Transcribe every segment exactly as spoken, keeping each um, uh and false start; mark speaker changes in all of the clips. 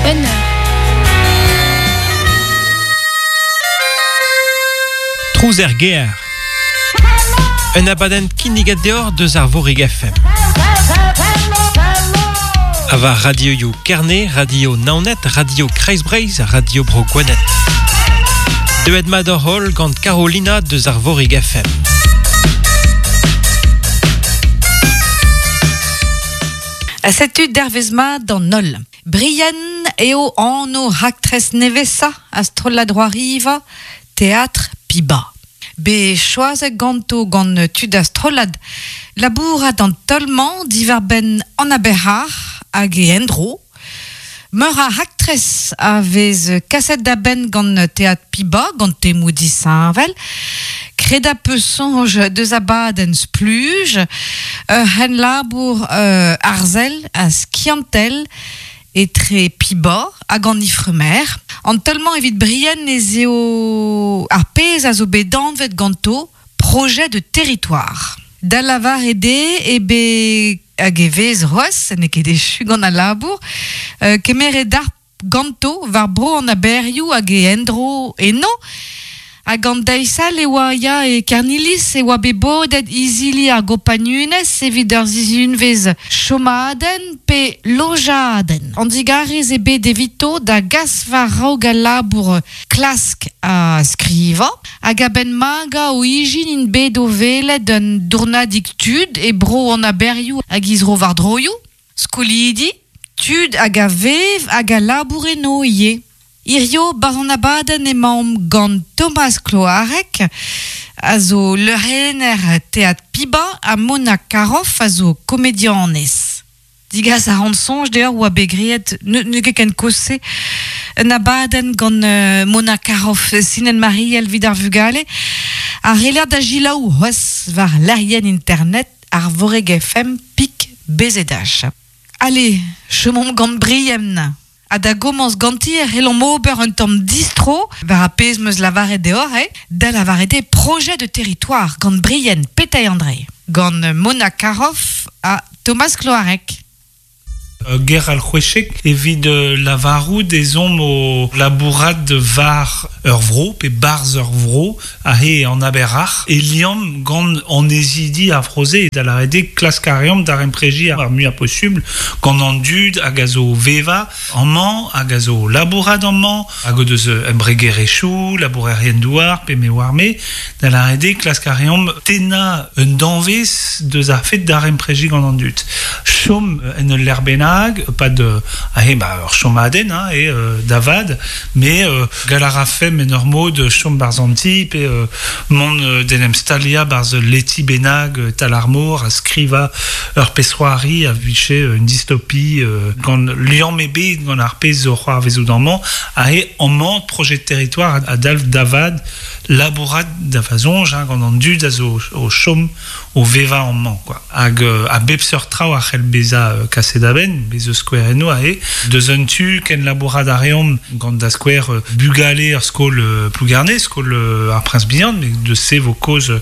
Speaker 1: Bonheur.
Speaker 2: Trouz er ger. Un abadenn kinniget deoc'h deus ar Vorig F M. A war radioioù Kerne, Radio Naoned, Radio Kreiz-Breizh, Radio Bro Gwened. Deuet mat hor holl gant Carolina deus ar Vorig F M.
Speaker 3: A setu dervez mat d'an holl. Brian eo anv raktres nevesa a strollad Roariva, Teatr Piba. Be choazet ganto gant tud a strollad labourat an tolmañ diwar benn an aberc'har hag e endro. Meur a raktres a vez kaset da benn gant Teatr Piba, gant temoù disheñvel. Kreda peus soñj deus abadenn spluj, ur c'hen labour euh, arzel a skiantel etre Piba hag an Ifremer. An tolmañ evit Brian ez eo ar pezh a zo bet danvet ganto projet de territoire. Da lavar ede e be hag e vez c'hoazh, n'eo ket echu gant al labour, euh, kemeret ar ganto war bro an aberioù hag e endro eno, hag an daisal e oa ya e Kernilis e oa bet bodet izili ar gopagnunez evit ur zizunvez chomadenn pe lojadenn. An digarez e bet evito da gas war raog al labour klask a skriva, hag a-benn maga o ijin int bet o welet un dournadig tud e bro an aberioù hag izro war droioù, skolidi, tud hag a vev hag a labour eno ivez. Hirio barzh an abadenn emaomp gant Thomas Cloarec, a zo leurenner Teatr Piba, ha Mona Caroff a zo komedianez. Digas a ran soñj deoc'h oa bet graet, ne, ne ket ken kozh-se, un abadenn gant euh, Mona Caroff, Sinen Mariel vid ar vugale, a reler da gilaou c'hoazh war lec'hienn internet ar Voreg F M pik B Z H. Allez, chomomp gant Brian. Ha da gomañs ganti e c'hellomp ober un tamm distro war ar pezh meus lavaret deoc'h, eh? Da lavaret eo projet de territoire gant Brian Pétail-André, gant Mona Caroff ha Thomas Cloarec.
Speaker 4: Ger al c'hwechek evit lavarout ezomp o labourat war ur vro, pe barz ur vro, a he an aberac'h, e liamm gant an ezidi ar froze, da lavaret eo klask a reomp d'ar empreji ar muiañ posubl, gant an dud hag a zo veva amañ, hag a zo labourat amañ, hag o deus embregerezhioù, labourerien douar, pe me oar me, da lavaret eo klask a reomp tennañ un danvez deus ar fet d'ar empreji gant an dud. Chom en ul lec'h bennak, pas de ah, eh, bah, ur chomadenn, hein, e euh, davad, mais euh, gal a rafem en ur mod chom barz an ti, pe euh, mont euh, d'en em stalia barz leti benag euh, tal ar mor, a skriva ur pesroari a viche euh, une dystopie euh, gant liamm ebet gant ar pezh zo c'hoar vezout amañ, a he amañ projet de territoire a dalv davad labourat da fazonj, hein, gant an dud a zo o chom o veva amañ, quoi. Hag euh, a bep seurt traoù a c'hell bezañ euh, kaset da benn, bez eus skouer eno a e, deus un tu ken labourat a reomp gant da skouer euh, bugale ur skol euh, Plougarné, skol euh, ar Prince Bihan, mais de se vo koz euh,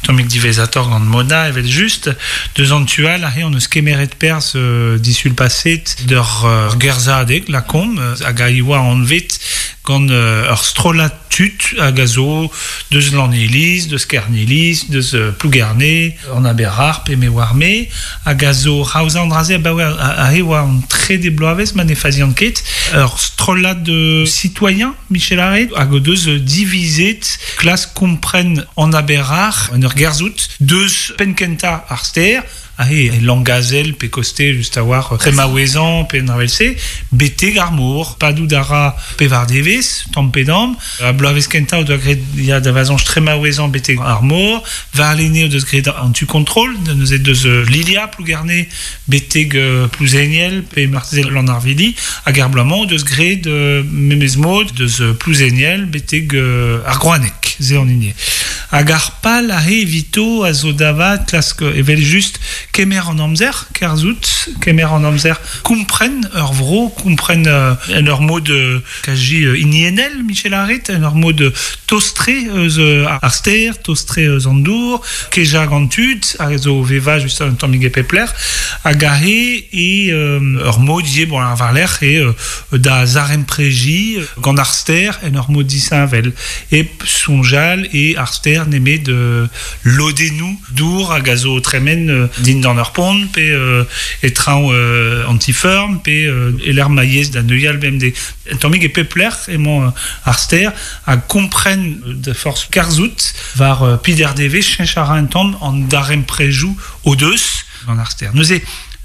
Speaker 4: tammig divezator gant Mona evel just, deus an tu all a he on eus kemeret perz euh, disul paset d'ur euh, gerzadeg, la kom, euh, hag a ioa anvet gant euh, ur strollad tud hag a zo deus Laneliz, deus Kerneliz, deus euh, Plougarné, an aberac'h pe me oar me, hag a zo raoza an draze abaoe a, a he oa an trede bloavezh ma ne fazian ket, ur strollad de citoyen, Michel Arrête, hag o deus divizet klas kompren an aberac'h en ur gerzout, deus penkenta ar ster, ah, e langazel pe koste just a war tremaouezan pe nravelse, bete ar mor, padout a ra pe var devez, tamm pe damm, a bloavezh kentañ o doa graet ya da vazañj tremaouezan bete ar mor, war lene o deus graet an tu kontrol, neuze deus Lilia Plougarné beteg euh, Plouzeniel pe marteze Lanarvili, hag ar bloaz-mañ o deus graet euh, memez mod deus Plouzeniel beteg euh, ar Groaneg, ze an hini. Hag ar pal a he evito a zo davat klask evel just kemer an amzer, kerzout, kemer an amzer, kompren ur vro, kompren euh, en ur mod euh, kaji euh, inienel, Michel Arret, en ur mod tostre eus euh, ar ster, tostre eus an dour, keja gant tud, a zo veva just un tammig e pepler, hag a he e euh, ur mod ye, bon, ar varler, e euh, da zarempreji gant ar ster en ur mod disinvel. E sonjal e ar ster nemet de lodenou dour hag a zo tremen euh, din d'an ur pont, pe euh, e traoñ euh, antiferm, pe euh, eler maïez da neuial B M D. Un tammig e pepler emañ euh, ar ster a kompren de force karzout var euh, pider deve chenchara un tamm an daremprejou o deus gant ar ster. Neuze,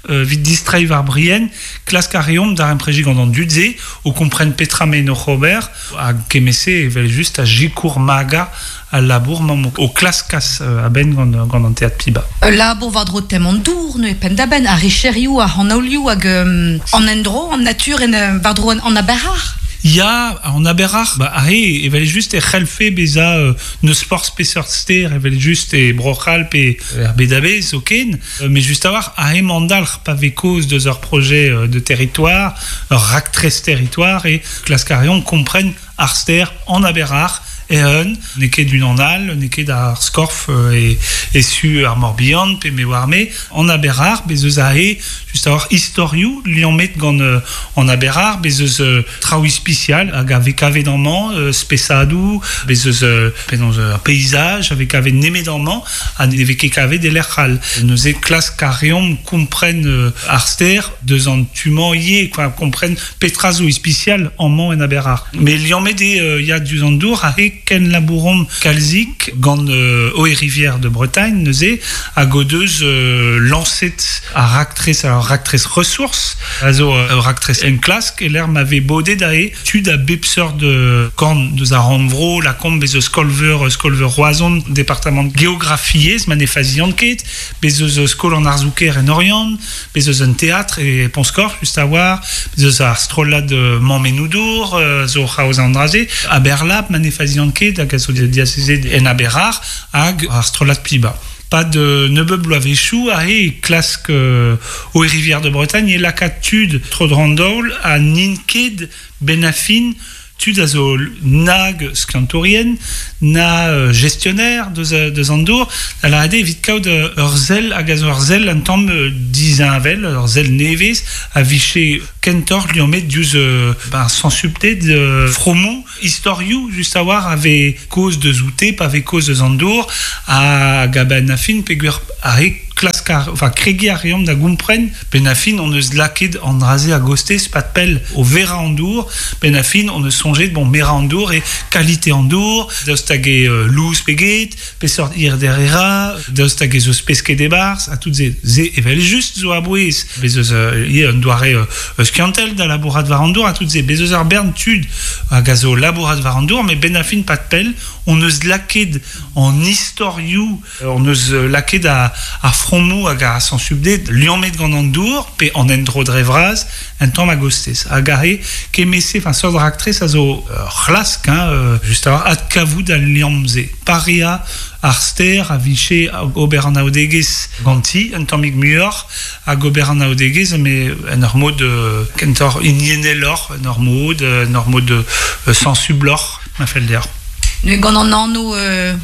Speaker 4: Euh, vit distrai var brien, klask a reomp darempreji gant an dudze, o kompren petra me no Robert, a kemese evel just a jikour maga a labour mam o klaskas euh, a ben gant, gant an teat piba.
Speaker 3: Labour var dro tem an dour, ne pen da ben, a richerioù, a hanolioù, hag euh, an endro, an natur, en var dro an aberar.
Speaker 4: Ya, an aberar, ba, ahe, evel just e c'helfe beza euh, neus forz peseurt ster, evel just e broc'hal pe er bedabez zoken, euh, mais just a war, ahe mandalc'h pa ve koz deus ur projet euh, de territoire, ur raktres territoire, e klaskarion kompren ar ster an aberar, e un, n'eo ket d'un an al, n'eo ket ar skorf euh, e, e su ar Morbihan, pe me war me, an aberar, bez eus ahe, just a war istorioù liammet gant euh, an aberar, bez eus euh, traoù ispicial hag a vekave d'amañ, euh, spesadoù, bez eus euh, penaos euh, paysage a vekave nemet d'amañ, ha ne vez ket kavet e lec'h all. Neuze klask a reomp kompren euh, ar ster deus an tumañ ivez, quoi, kompren petra zo ispicial amañ en aberar. Mais liammet eo euh, ya diouzh an dour ahe ken labourom kalzik gant euh, Eau et Rivière de Bretagne, neuze, hag o deus euh, lancet ar raktres, ar raktres ressources, a zo euh, raktres en klask, e l'er m'ave bodet ae tud a bep seurt de korn deus ar rannvro, la komp bez eus skolveur, skolveur Roazhon, département géographiez, ma ne faziant ket, bez eus skol an arzouker en Orient, bez eus un théâtre e Ponscor, just a war, bez eus ar strollad euh, Mammenoudour, euh, zo c'haoz an draze, a Berlab, ma ne faziant ket, hag a zo diasezet en aberar, hag ar strollad piba. Pas de nebeud bloavezhioù a e klask euh, Eau et Rivière de Bretagne e lakaat tud tro drandaol a n'int ket benafin tud a zo nag skiantourien, na euh, gestionnaire deus, deus an dour, da la ade evit kaout ur sell hag a zo ur sell an tamm dizinvel, ur sell nevez, a viche kentoc'h liammet diouzh euh, ben, sensupted euh, fromou, istorioù just a war ave koz deus oute, pa ave koz deus an dour, hag a ben afin peogwir a re klask ar, enfin, kregi a reomp da gompren, ben afin on eus laket an draze a gostez pat pell o vera an dour, ben afin on eus sonjet, bon, mera an dour e kalite an dour, daoust hag e euh, louz peget, peseurt ir derera, daoust hag e zo pesket e barz, a tout ze, ze evel just zo a bouez, bez eus euh, ie un doare euh, skiantel da labourat war an dour, a tout ze, bez eus ar bern tud hag a zo labourat war an dour, mais ben afin pat pell, on eus laket an istorioù, on eus laket a, a fromou hag a sensubdet liammet gant an dour, pe an endro dre vras, un tamm a gostez. Hag a re, kemese, enfin, seurt raktres a zo euh, c'hlask, hein, euh, just a war, adkavout al liamm-se. Paria ar ster a viche ober an aodegez ganti, un tammig muioc'h, hag ober an aodegez, mais en ur mod euh, kentoc'h inieneloc'h, en ur mod, en ur mod euh, sensubloc'h, ma fell deoc'h.
Speaker 3: Ne gant an anv euh,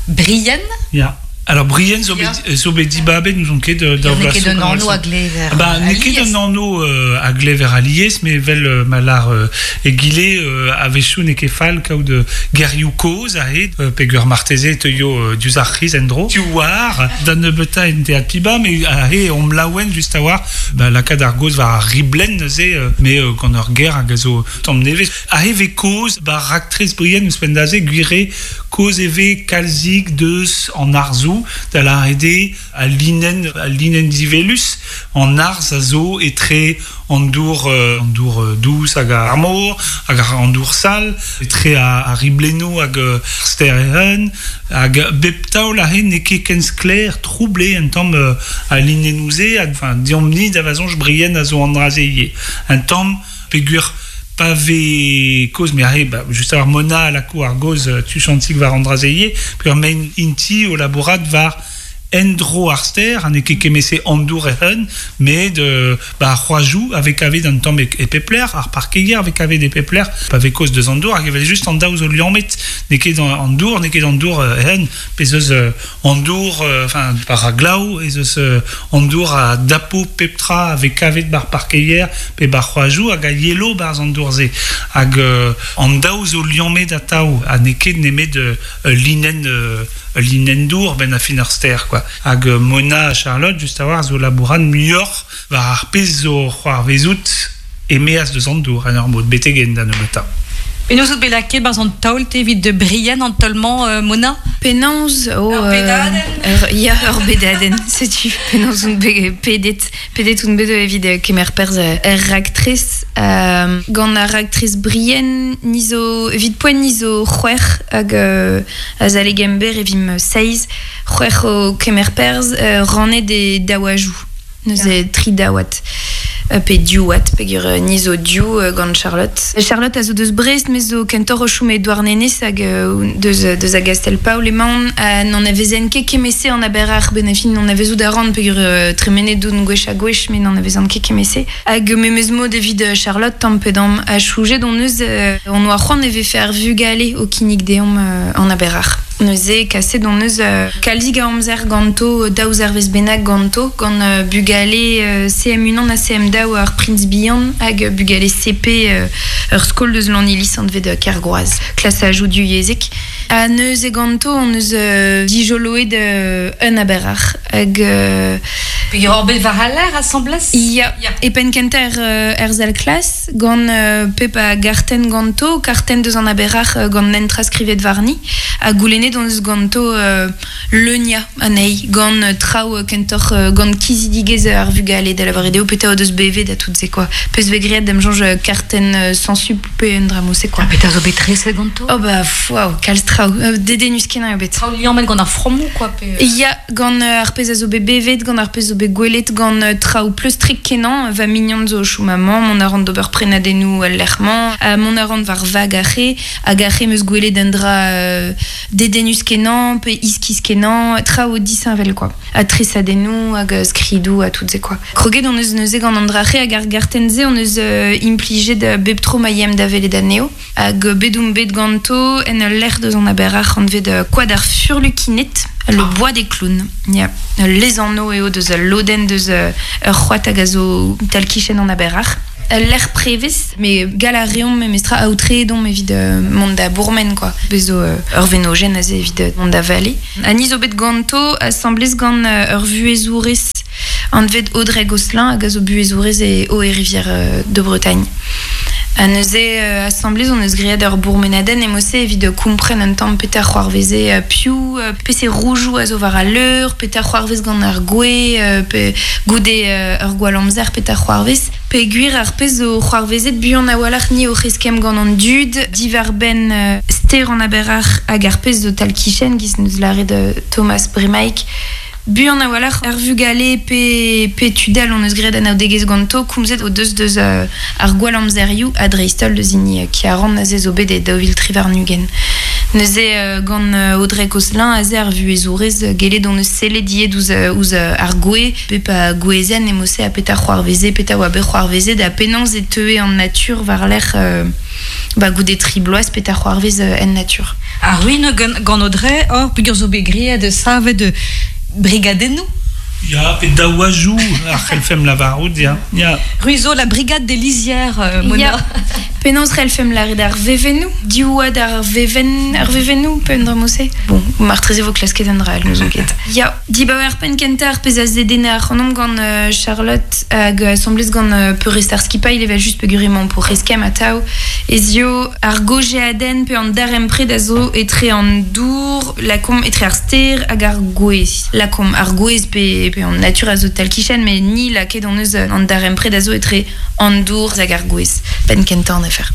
Speaker 3: Brienne?
Speaker 4: Ya. Alors Brienne zo bet, zo bet dibabet nous on ket da
Speaker 3: N'eo ket un anv a glever.
Speaker 4: Ba n'eo ket un anv euh, a glever alies, mais vel euh, malar euh, egile euh, a-wechoù n'eo ket fall kaout euh, gerioù kozh ahe, euh, peogwir marteze teuio euh, diouzh ar c'hiz en-dro. Tu war, da nebeuta en teat piba, mais ahe omp laouen just a war, ba lakaat ar goz war ar riblenn neuze, euh, mais euh, gant ur ger hag a zo tamm nevez. Ahe ve kozh, ba raktres Brienne ouzhpenn da se, gwire kozh e ve kalzik deus an arzoù, da la ede a linen, a linen divelus, an arz a zo etre an dour, euh, an dour euh, dous hag ar mor, hag an dour sal, etre a, a riblennoù hag euh, ster ehen, hag bep taol ahe n'eo ket ken sklaer, troublé un tamm euh, a linennoù-se, hag, enfin, diomp-ni da vazonj Brienne a zo an draze ivez. Un tamm peogwir Pa ve koz, me arre, ba, just ar Mona la ko ar goz tu chantik war an drazeie, pe ur men inti o labourat war endro ar ster, an e ket kemese andour e hun, met euh, ba ar c'hoajou avec ave d'an tamm e, e pepler, ar parkeier avec ave de pepler, pa ve koz deus andour, hag evel just an daou zo liammet, ne ket an dour, ne ket an dour euh, hen, pe zeus euh, an dour, enfin, euh, par a glaou, e zeus euh, an dour a dapo peptra avec ave bar parkeier, pe bar c'hoajou, hag a yelo barz an dour ze, hag euh, an daou zo liammet ataou, ha ne ket nemet euh, linen, euh, linen dour ben a fin ar ster, quoi. Hag Mona Charlotte, just a war, zo labouran muioc'h war ar pez zo c'hoar vezout e meaz deus an dour, an ur mod betegen da nebeutañ.
Speaker 3: Penaos out bet lakaet barzh an taol te evit de Brienne an tolmañ euh, Mona?
Speaker 1: Penaos o...
Speaker 3: Ur bedadenn?
Speaker 1: Euh, ya, ur bedadenn, setu. Penaos on bet pedet, pedet on bet evit kemer perzh er raktres. Euh, gant ar raktres Brienne, ni zo, evit poent ni zo c'hwec'h hag euh, azale gember evim seiz, c'hwec'h o kemer perzh euh, rannet e daouajou. Neuze tri daouat. Pe diouat, peogwir ni zo diou gant Charlotte. Charlotte a zo deus Brest, me zo kentoc'h o chom e Douarnenez hag deus, deus a Gastel-Paol emaon. N'en avezen ket kemese an aber ar benafin n'en avezout a ran peogwir tremenet doun gwech ha gwech, met n'en avezan ket kemese. Hag memez mod evit Charlotte tamm pe damm a choujet on eus on oa c'hoant e vefe ar vugale o kinnig deomp an aber ar. Neuze kaset on eus kalzig a amzer ganto, daou zervez bennak ganto, gant bugale C M un ha C M daou ar Prince Bihan hag bugale C P ur skol deus Lannilis anvet Kergroaz, klas a jou du yezek. Ha neuze ganto on eus dijoloet un aber ar hag...
Speaker 3: Peogwir ur bet war al aer asambles?
Speaker 1: Ya, e penn kentañ er, er zal klas, gant pep a gartenn ganto, kartenn deus an aber ar gant nentra skrivet warni, ha goulennet on eus ganto euh, leunia anezhi, gant traoù kentoc'h gant kizidigezh ar vugale da lavaret eo petra o deus bevet da tout se quoi. Peus bet graet da'm soñj kartenn sensup pe un dra mod-se quoi.
Speaker 3: Ha petra zo bet treset ganto?
Speaker 1: Oh ba, waouh, kalz traoù, dedennus kenañ eo bet.
Speaker 3: Traoù liammet gant ar frammoù quoi pe...
Speaker 1: Ya, gant ar pezh a zo bet bevet, gant ar pezh zo bet gwelet, gant traoù pleustrik kenañ, va mignon zo chom amañ, mont a ran d'ober prenadennoù al lec'h-mañ, mont a ran war vag ar re, hag ar re 'm eus gwelet un dra euh, dedennus kenañ, pe iskis kenañ, traoù disheñvel quoi. Ha tresadennoù, hag skridoù, ha tout se quoi. Kroget on eus neuze gant an dra re hag ar gartenn-se on eus euh, implijet bep tro ma yem da welet anezho, hag bet oump bet ganto en ul lec'h deus an aber ar anvet koad ar furlukined, le ah. bois des clowns. Ya. Les anno eo deus ul lodenn deus ur c'hoad hag a zo tal-kichen an aber ar. L'air prevez, mais gal a reomp memestra aotreet omp evit euh, mont da bourmen quoi. Bez zo euh, ur venogen aze evit mont da vale. Ha ni zo bet ganto asamblez gant ur vuhezourez anvet Audrey Gosselin hag a zo buhezourez e Eau et Rivière de Bretagne. Ha neuze euh, asamblez on eus graet ur bourmenadenn emose evit kompren un tamm petra c'hoarveze euh, piv, euh, pe se roujoù a zo war al leur, petra c'hoarvez gant ar gwe, euh, pe goude euh, ur gwall amzer petra c'hoarvez. Peogwir ar pezh zo c'hoarvezet buan a-walc'h ni o c'heskemm gant an dud, diwar-benn euh, ster an aber ar hag ar pezh zo tal-kichen giz neus lâret euh, Thomas Bremaik. Buan a-walc'h ar vugale pe, pe tudal on eus graet anaoudegezh ganto, komzet o deus deus euh, ar gwall amzerioù ha dreist-holl deus hini euh, ki a ran aze zo bet e daou vil tri warn-ugent. Neuze euh, gant euh, Audrey Gosselin aze ar vuhezourez euh, gellet on eus sellet ivez ouzh, ouzh ar gwe, pep a gwezenn emose ha petra c'hoarveze, petra oa bet c'hoarvezet ha penaos e teue an natur war-lerc'h euh, ba goude tri bloaz petra c'hoarvez euh, en natur.
Speaker 3: Ar ruin gant, gant Audrey, hor peogwir zo bet graet savet de brigadennoù?
Speaker 4: Ya, pe daouajou ar c'hellfemp lavarout, ya. Ya.
Speaker 3: Ruizo, la brigade des lisières, euh, Mona.
Speaker 1: Ya. Penaos c'hellfemp lâret ar vevennoù, diouad ar vevenn, ar vevennoù, pe un dra mod-se. Bon, martreze vo klasket un dra all, n'ouzon ket. Ya, dibaoe ar penn kentañ ar pezh a zedenne ar c'hanomp gant euh, Charlotte hag asamblez gant euh, peurrest ar skipailh evel just peogwir emañ pour eskemm atav. Ez eo ar gojeadenn pe an darempred a zo etre an dour, lakomp etre ar ster hag ar gwez. Lakomp ar gwez pe, pe an natur a zo tal-kichen, met ni lakaet on eus an darempred a zo etre an dour hag ar gwez. Penn kentañ an afer.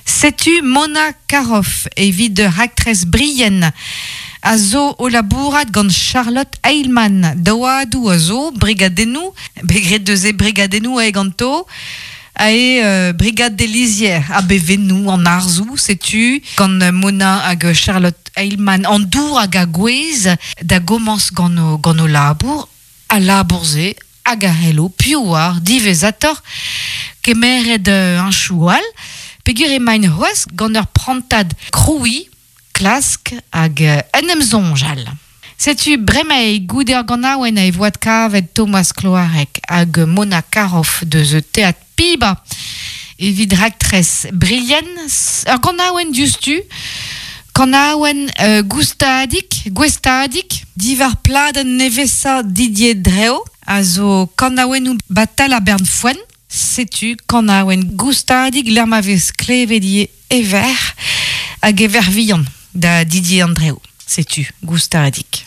Speaker 3: Setu Mona Caroff evit de raktres Brienne a zo o labourat gant Charlotte Heilmann. Daouadoù a zo, brigadennoù, bet graet deus e brigadennoù e ganto. Ae euh, Brigade des Lisières a bevennou an arzou, setu, gant Mona hag Charlotte Heilmann an dour hag a gwez da gomans gant o, gant o labour, a labourze hag a hello, piouar, divezator, kemeret euh, an choual, pegur e main c'hoaz gant ur prantad kroui, klask hag euh, en em zonjal. Setu bremae goude ar ganaouen a e voad kavet Thomas Cloarec hag Mona Karoff deus teat Piba evit raktres Brien ar ganaouen diouzhtu kanaouen euh, goustadik, gwestadik, divar pladenn nevesa Didier Dreo a zo kanaouennoù batal a bern foen, setu kanaouen goustadik l'er ma vez klevet ever hag ever vihan da Didier Andreo. Setu, goustadik.